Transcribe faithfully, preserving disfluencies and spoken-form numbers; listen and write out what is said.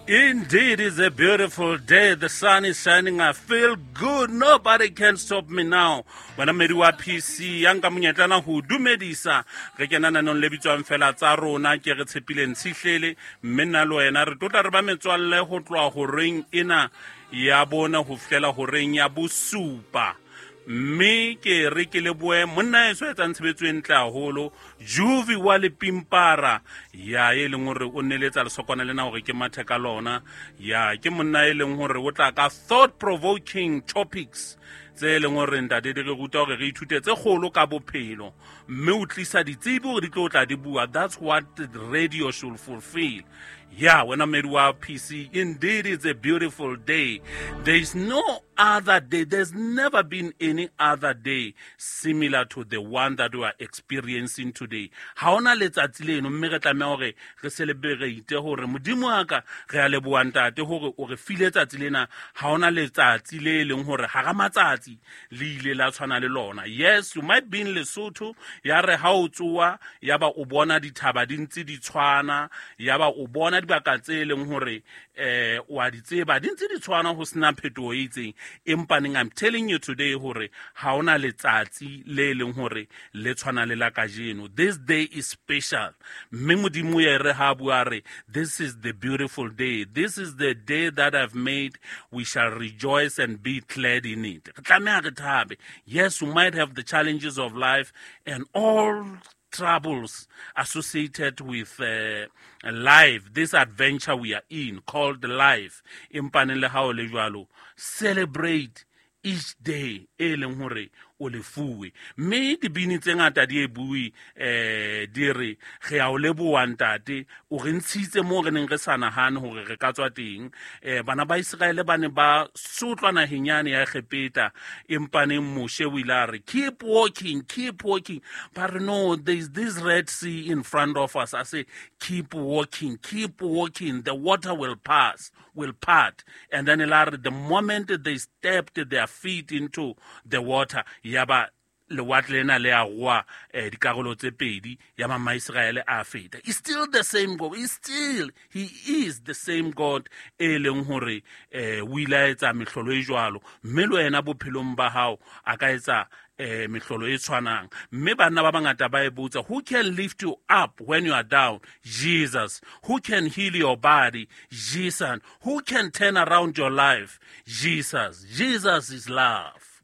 Indeed, it's a beautiful day. The sun is shining. I feel good. Nobody can stop me now. Wena mmedi wa P C ya nka monyetlana ho dumedisa re kena nanong le bitswang fela tsa rona ke re tshepileng tshihlele mme nna le wena re tlotla re ba metswalle ho tloha horeng ena ya bona ho fihlela horeng ya bosupa mme ke re ke leboe monna eso etsang tshebetso e ntle haholo Juvi wa Lepimpara ya e leng hore o neletsa lesokwana lena hore ke mathe ka lona ya ke monna e leng hore o tla ka thought provoking topics tse e leng hore ntate di re ruta hore re ithute tse kgolo ka bophelo mme o tlisa ditsebi hore di tlo tla di bua. That's what the radio should fulfill. Yeah, wena mmedi wa P C, indeed it's a beautiful day. There is no other day, there's never been any other day similar to the one that we are experiencing today. Ha hona letsatsi leno mme re tlameha hore re celebrate hore modimo wa ka re a leboha ntate hore o re file tsatsi lena. Ha hona letsatsi le leng hore hara matsatsi le ile la tshwana le lona. Yes, you might be in Lesotho ya re ha o tsoa ya ba o bona dithaba di ntse di tshwana ya ba o bona dibaka tse leng hore eh wa di tseba di ntse di tshwana ho sena phetoho e itseng empaneng I'm telling you today hore ha hona letsatsi le leng hore le tshwana le la kajeno. This day is special mme modimo ya re ha bua re this is the beautiful day. This is the day that I've made. We shall rejoice and be glad in it. Re tlameha re thabe. Yes, we might have the challenges of life and all troubles associated with uh, life, this adventure we are in called life, empaneng le ha o le jwalo celebrate each day e leng hore o lefuwe mme dibini tse ngata di e bue eh di re re a o leboha ntate o re ntshitse moo re neng re sa nahane hore re ka tswa teng eh bana ba Iseraele ba ne ba sotlwa naheng yane ya Egepeta empaneng Moshe o ile a re, "Keep walking, keep walking." But no, there is this Red Sea in front of us. I say, "Keep walking, keep walking. The water will pass, will part." And then the moment they stepped their feet into the water, yaba lewatle lena le a goa eh, dikarolo tse pedi ya mamaiseraele a feta. It's still the same God. It's still, he is the same God e leng hore eh, o ile a etsa mehlolo e jwalo mme le wena bophelong ba hao a ka etsa eh mehlolo e tshwanang mme banna ba bangata ba e botsa, who can lift you up when you are down? Jesus. Who can heal your body? Jesus. Who can turn around your life? Jesus. Jesus is love.